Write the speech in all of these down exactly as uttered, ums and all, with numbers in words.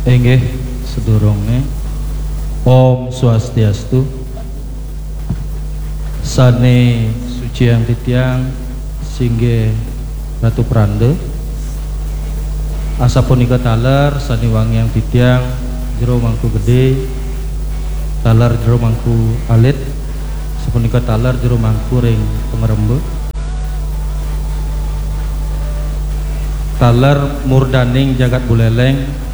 Inggih, sedurunge. Om Swastiastu. Sane suciang titiang singgih Ratu Pranda. Asapunika taler sane wangiang titiang Jero Mangku Gede, taler Jero Mangku Alit, sapunika taler Jero Mangku ring Pangremba. Taler murdaning jagat Buleleng,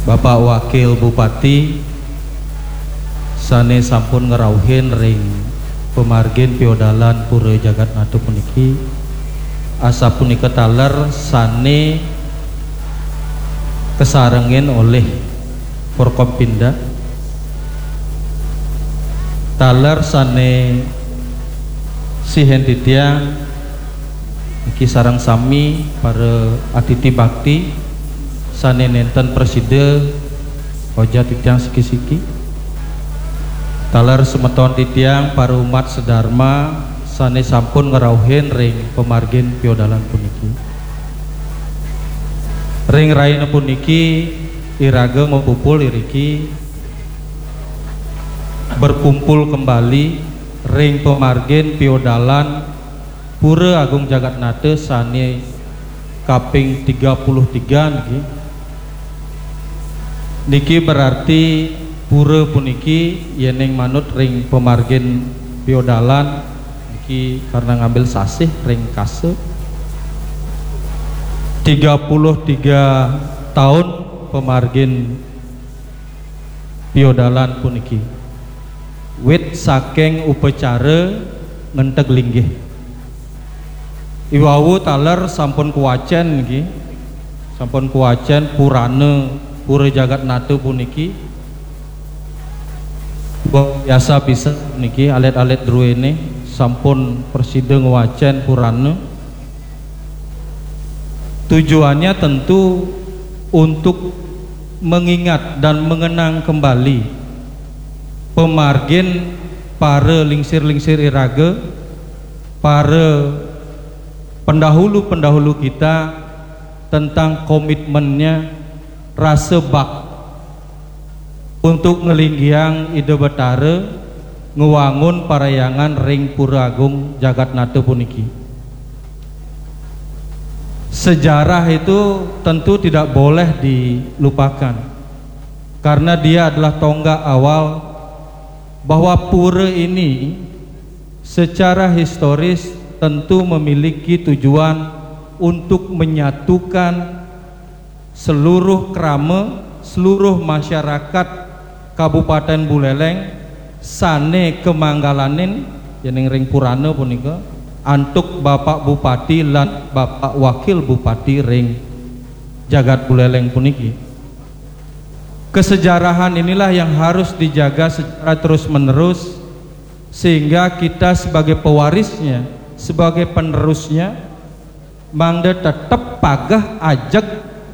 Bapak Wakil Bupati sane sampun ngrauhin ring pamargin piodalan Pura Jagatnata puniki, asapunika taler sane kasarengin olih Forkompinda, taler sane sihin titiang niki sareng sami para atiti bakti sane nenten prasida oja titiang siki-siki. Taler semeton titiang para umat sedharma sane sampun ngrauhin ring pamargin piodalan puniki. Ring rahina puniki iraga mapupul iriki berkumpul kembali ring pamargin piodalan Pura Agung Jagatnata sane kaping tiga puluh tiga niki. Niki berarti pura puniki yening manut ring pamargin piodalan niki karena ngambil sasih ring kasa tiga puluh tiga tahun pamargin piodalan puniki. Wit saking upacara ngenteg linggih. Iwau taler sampun kuwacen nggih. Sampun kuwacen purana Pura Jagatnata puniki. Wah, biasa pisan niki alit-alit druene sampun prasida ngwacen purana. Tujuannya tentu untuk mengingat dan mengenang kembali pamargin para lingsir-lingsir iraga, para pendahulu-pendahulu kita tentang komitmennya, rasa bak untuk nglinggiang Ida Betara ngwangun parhyangan ring Pura Agung Jagatnata puniki. Sejarah itu tentu tidak boleh dilupakan, karena dia adalah tonggak awal bahwa pura ini secara historis tentu memiliki tujuan untuk menyatukan seluruh krama, seluruh masyarakat Kabupaten Buleleng sane kamanggalanin yening ring purana punika antuk Bapak Bupati lan Bapak Wakil Bupati ring jagat Buleleng puniki. Kesejarahan inilah yang harus dijaga secara terus-menerus, sehingga kita sebagai pewarisnya, sebagai penerusnya, mangda tetep pageh ajeg,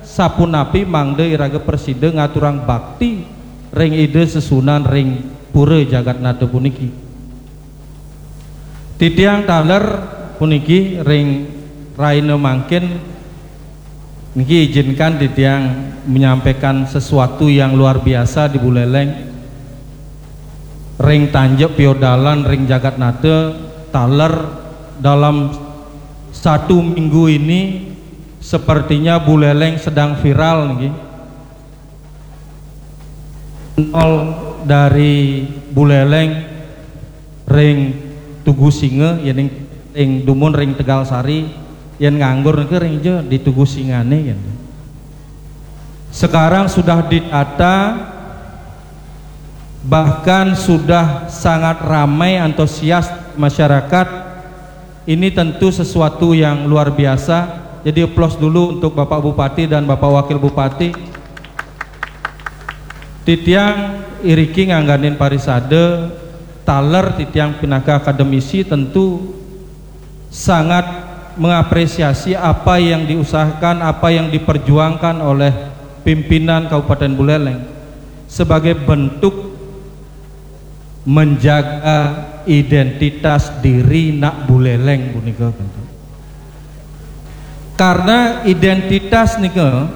sapunapi mangda iraga prasida ngaturang bakti ring Ida sesuunan ring Pura Jagatnata puniki. Titiang taler puniki ring rahina mangkin niki izinkan titiang menyampaikan sesuatu yang luar biasa di Buleleng. Ring tanjak piodalan ring Jagatnata taler dalam satu minggu ini sepertinya Buleleng sedang viral niki. Nol dari Buleleng ring Tugu Singa, yening ring dumun ring Tegal Sari, yen nganggur niki ring ja di Tugu Singane yen. Sekarang sudah ditata, bahkan sudah sangat ramai antusias masyarakat. Ini tentu sesuatu yang luar biasa. Jadi aplaus dulu untuk Bapak Bupati dan Bapak Wakil Bupati. Titiang iriki ngangganin parisada, taler titiang pinaka akademisi tentu sangat mengapresiasi apa yang diusahakan, apa yang diperjuangkan oleh pimpinan Kabupaten Buleleng sebagai bentuk menjaga identitas diri nak Buleleng punika. Karena identitas nika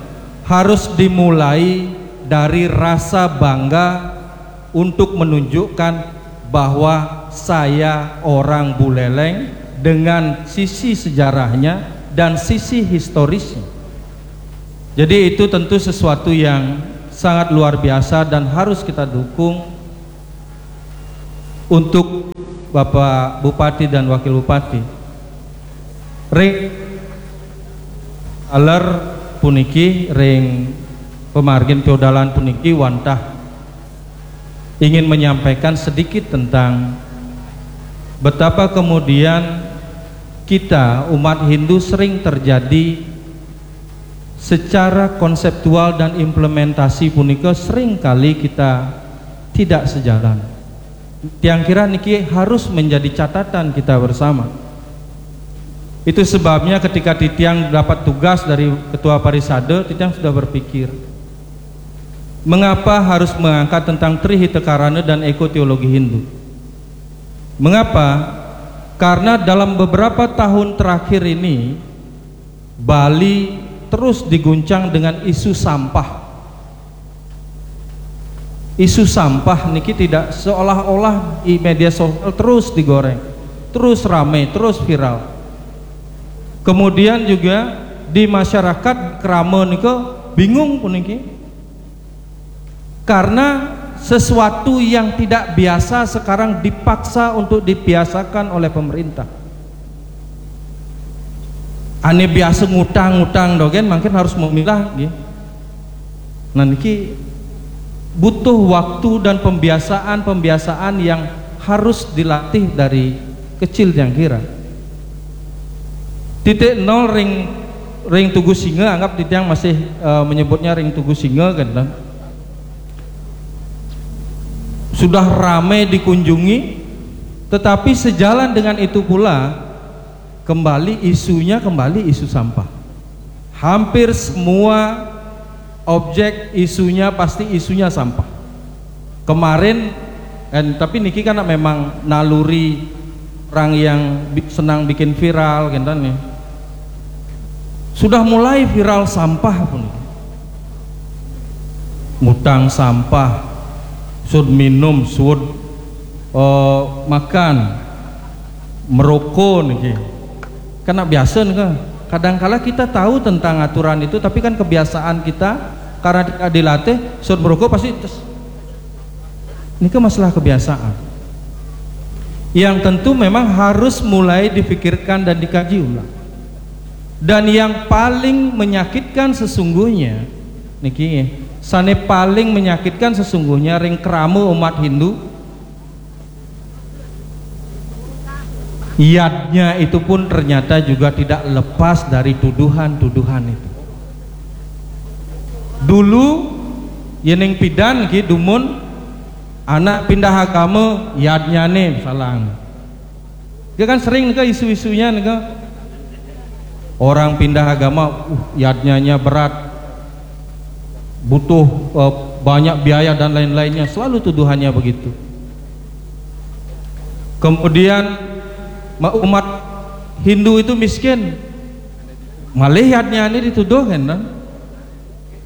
harus dimulai dari rasa bangga untuk menunjukkan bahwa saya orang Buleleng dengan sisi sejarahnya dan sisi historisnya. Jadi itu tentu sesuatu yang sangat luar biasa dan harus kita dukung untuk Bapak Bupati dan Wakil Bupati. Ring aler puniki, ring pemargin piodalan puniki wantah ingin menyampaikan sedikit tentang betapa kemudian kita umat Hindu sering terjadi secara konseptual dan implementasi punika sering kali kita tidak sejalan. Tiang kira niki harus menjadi catatan kita bersama. Itu sebabnya ketika titiang dapat tugas dari ketua parisada, titiang sudah berpikir, mengapa harus mengangkat tentang Tri Hita Karana dan eko teologi Hindu? Mengapa? Karena dalam beberapa tahun terakhir ini, Bali terus diguncang dengan isu sampah. Isu sampah niki tidak, seolah-olah di media sosial terus digoreng, terus rame, terus viral. Kemudian juga di masyarakat krama nika bingung puniki. Karena sesuatu yang tidak biasa sekarang dipaksa untuk dibiasakan oleh pemerintah. Ane biasa ngutang-ngutang dogen, mungkin harus memilah, nggih. Nah, niki butuh waktu dan pembiasaan-pembiasaan yang harus dilatih dari kecil, tiang kira. Titik nol ring ring Tugu Singa, anggap titiang masih eh, menyebutnya ring Tugu Singa kan, kan? Sudah ramai dikunjungi, tetapi sejalan dengan itu pula kembali isunya, kembali isu sampah. Hampir semua objek isunya pasti isunya sampah. Kemarin, eh, tapi niki kan memang naluri orang yang bi- senang bikin viral, gitu nih. Sudah mulai viral sampah pun. Ngutang sampah, sud minum, sud eh, makan, merokok niki. Karena biasa nih kan. Kadangkala kita tahu tentang aturan itu, tapi kan kebiasaan kita karena tidak dilatih, sud merokok pasti tes. Ini kan masalah kebiasaan. Yang tentu memang harus mulai dipikirkan dan dikaji ulang. Dan yang paling menyakitkan sesungguhnya, niki, sane paling menyakitkan sesungguhnya ring krama umat Hindu, yadnya itu pun ternyata juga tidak lepas dari tuduhan-tuduhan itu. Dulu yening pidan ki dumun anak pindah agama, yadnyane salang. Dia kan sering ke isu-isunya nih, orang pindah agama, uh, yadnyanya berat, butuh eh, banyak biaya dan lain-lainnya, selalu tuduhannya begitu. Kemudian ma- umat Hindu itu miskin, malih yadnya ini dituduh kan,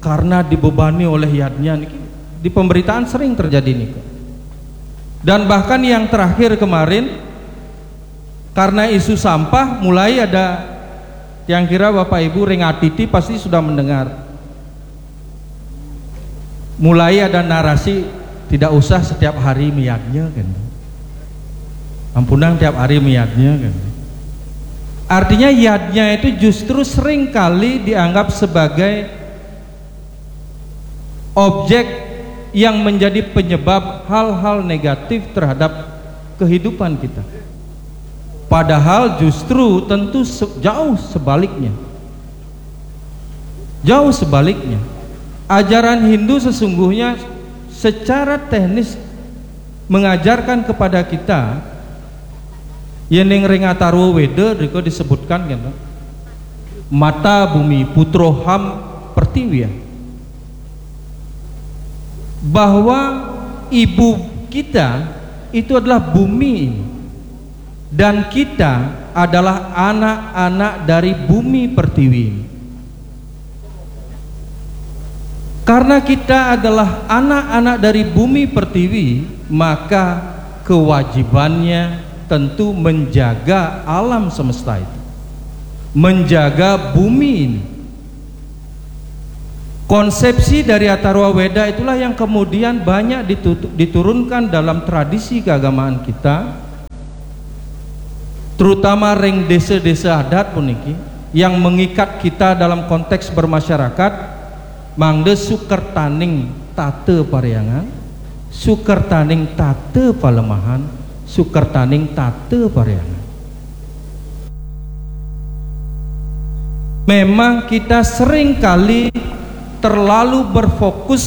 karena dibebani oleh yadnya niki. Di pemberitaan sering terjadi niki. Dan bahkan yang terakhir kemarin, karena isu sampah, mulai ada, yang kira Bapak Ibu ring atiti pasti sudah mendengar. Mulai ada narasi tidak usah setiap hari meyadnya kan. Ampunang tiap hari meyadnya kan. Artinya yadnya itu justru sering kali dianggap sebagai objek yang menjadi penyebab hal-hal negatif terhadap kehidupan kita. Padahal justru tentu se- jauh sebaliknya. Jauh sebaliknya. Ajaran Hindu sesungguhnya secara teknis mengajarkan kepada kita, yening ring Atharwa Weda rika disebutkan kan, mata bumi, putro ham pertiwi, bahwa ibu kita itu adalah bumi ini, dan kita adalah anak-anak dari bumi pertiwi. Karena kita adalah anak-anak dari bumi pertiwi, maka kewajibannya tentu menjaga alam semesta itu, menjaga bumi ini. Konsepsi dari Atharwa Weda itulah yang kemudian banyak diturunkan dalam tradisi keagamaan kita, terutama ring desa-desa adat puniki, yang mengikat kita dalam konteks bermasyarakat. Mangda sukertaning tata parhyangan, sukertaning tata palemahan, sukertaning tata parhyangan. Memang kita seringkali terlalu berfokus